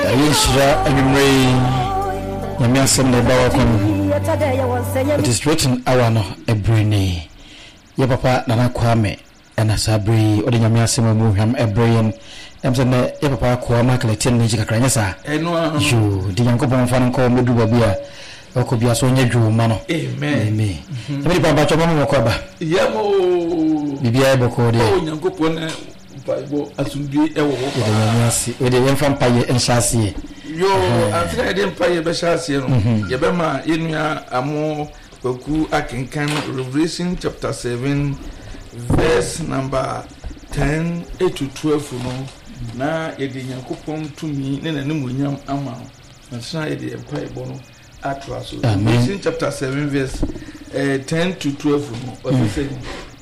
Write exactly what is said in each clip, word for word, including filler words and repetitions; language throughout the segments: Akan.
Ɛyɛ nhyira anwummerɛ yi, Nyame asɛm na ɛba wakɔ no. It is written hour no ɛberɛ ni. Yɛ papa Nana Kwame ɛna saa berɛ yi ɔde Nyame asɛm a mu hwam ɛberɛ yɛn. Ɛm sɛ nnɛ yɛ papa akoa Michael ɛte no n'akyi kakra, nyɛ saa? Ɛno ara no. Yoo, nti Nyankopɔn mfa no nkɔ mmɛduru baabi a ɔkɔ bia so ɔnyɛ dwoo mma no. Amen. Amen. Nyame nipa, mpakyɛ mama mɔkɔ aba. Yam o. Biribiara yɛ bɔkɔɔ deɛ? Oh, Nyankopɔn ne mpaebɔ, asomdue ɛwɔ hɔ Yɛda Nyame ase. Wei deɛ yɛmfa mpayɛ nhyɛ aseɛ. Yo, ansa na yɛde mpayɛ bɛhyɛ aseɛ no, yɛbɛma yɛnua Amo Kwaku akenkan Revelation chapter seven verse number ten to twelve no, na yɛde Nyankopɔn tumi ne n'animuonyam ama no ansa na yɛde mpaebɔ no atoa so. Amen. Revelation chapter seven verse eh, ten to twelve no, ɔse sɛ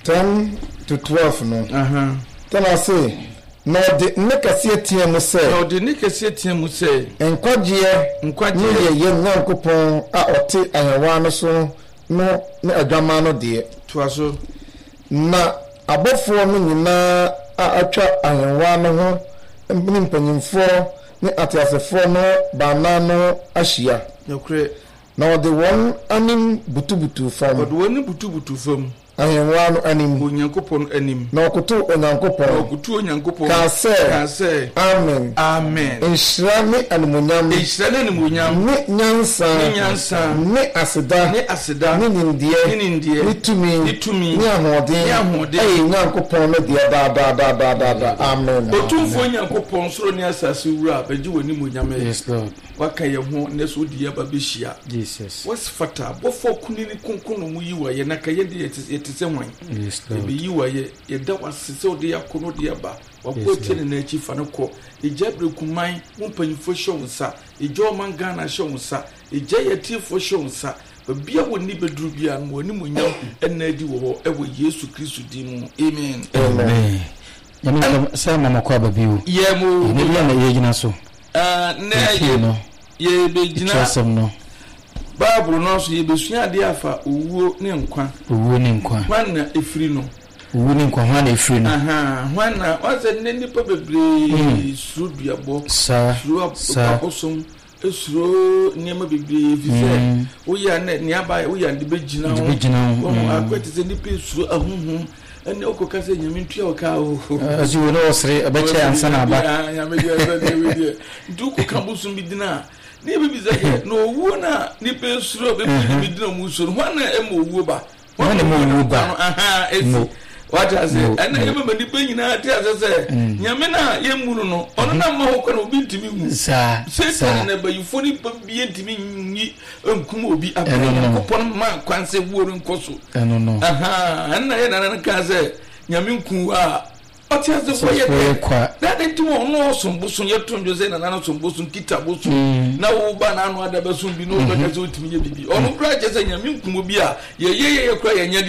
ten to twelve no. Aha. Tena ase na ɔde nne kɛseɛ teɛ mu sɛ, na ɔde ne kɛseɛ teɛ mu sɛ, nkwagyeɛ ne nkwagyeɛ yɛ yɛn Nyankopɔn a ɔte ahennwa no so no ne Adwammaa no deɛ. Toa so. Na abɔfoɔ no nyinaa a atwa ahennwa no ho ne mpanyimfoɔ ne ateasefoɔ no baanan no ahyia. Nokorɛ. Na wɔde wɔn anim butubutu fam. Ɔde wɔn anim butubutu fam. Ahennwa no anim. Onyankopɔn anim. Na ɔkotow Onyankopɔn. Na ɔkotow Onyankopɔn. Kaa sɛ, kaa sɛ, Amen. Amen. Nhyira ne animuonyam. Nhyira ne animuonyam. Ne nyansa. Ne nyansa. Ne aseda. Ne aseda. Ne nimdeɛ. Ne nimdeɛ. Ne tumi. Ne tumi. Ne ahoɔden. Ne ahoɔden. Ɛyɛ Nyankopɔn no deɛ daa daa daa daa daa daa. Amen. Otumfoɔ Nyankopɔn, soro ne asase wura, bɛgye w'animuonyam ɛ. Yes, Lord. Waka yɛn ho nnɛ so wode yɛn aba bɛhyia. Jesus. Wɔsfata abɔfoɔ kunini kronkron na wɔyi wo ayɛ, na ka yɛn de yɛte sɛ hwan? Yes, Lord. Yɛbɛyi wo ayɛ. Yɛda wo ase sɛ wode yɛn akɔ na wode yɛn aba. Wakɔ Yes, atie ne nan akyi, fa no kɔ. Yɛgya Berekuman wo mpanyimfoɔ hyɛ wo nsa. Yɛgya ɔman Ghana hyɛ wo nsa. Yɛgya yɛn atiefoɔ hyɛ wo nsa. Baabi a wɔnni bɛduru biara no, ma w'animuonyam nna adi wɔ hɔ, ɛwɔ Yesu Kristo din mu. Amen. Amen. Nyame nka sɛ mama kɔ aba bio. Yɛ mo. Ɛnɛ bi a na yɛgyina so. Nɛ Yɛtie no. Yɛbɛgyina Twerɛsɛm no. Bible no so, yɛbɛsua adeɛ afa owuo ne nkwa. Owuo ne nkwa. Hwan na ɛfiri no? Owuo ne nkwa, hwan na ɛfiri no? Aha, hwan na wɔn sɛ nnɛ nnipa bebree suro duabɔ, Saa, suro saa. abosom, suro nneɛma bebree fi sɛ woyɛ a na nea aba woyɛ a de bɛgyina De ho. bɛgyina ho, Wɔn mm. akɔ te sɛ nnipa suro ahohom ɛne wokɔka sɛ Nyame ntua wo ka o. Ɔsi wo ne ɔsere ɛbɛkyɛ ansa na aba. Ah, Nyame deɛ ɛsɛ deɛ wei deɛ nti wokɔka bosom bi dina a ne yɛbɛbisa yɛ na owuo no a nnipa suro bɛbi bi dina ɔmu suro no, hwan na ɛma owuo ba? Hwan na ɛma owuo ba? No, aha, ɛsi Mo. Wate ase? Mo, ɛna mo. yɛbɛma nnipa nyinaa te ase sɛ Nyame no a yɛmmu no no, ɔno na ma ho kwan a obi ntumi nwu. Saa, saa. Satan na abayifoɔ nipa bi ntumi nyi nkum obi abere Ɛno no. Nyankopɔn ma kwan sɛ wuo no nkɔ so. Ɛno no. Aha, ɛna yɛ nana no kaa sɛ Nyame nku wo a ɔte ase Sɛ fo yɛ fo yɛ dɛ kwa. Na ne nti wɔn ɔsom bosom, yɛto ndwo sɛ nana no som bosom, kita bosom, na wo ba n'ano ada bɛsom bi na wo bɛka sɛ wotumi yɛ bibi, ɔno koraa kyerɛ sɛ Nyame nkum obi a yɛyɛ yɛyɛ koraa yɛnyɛ deɛ.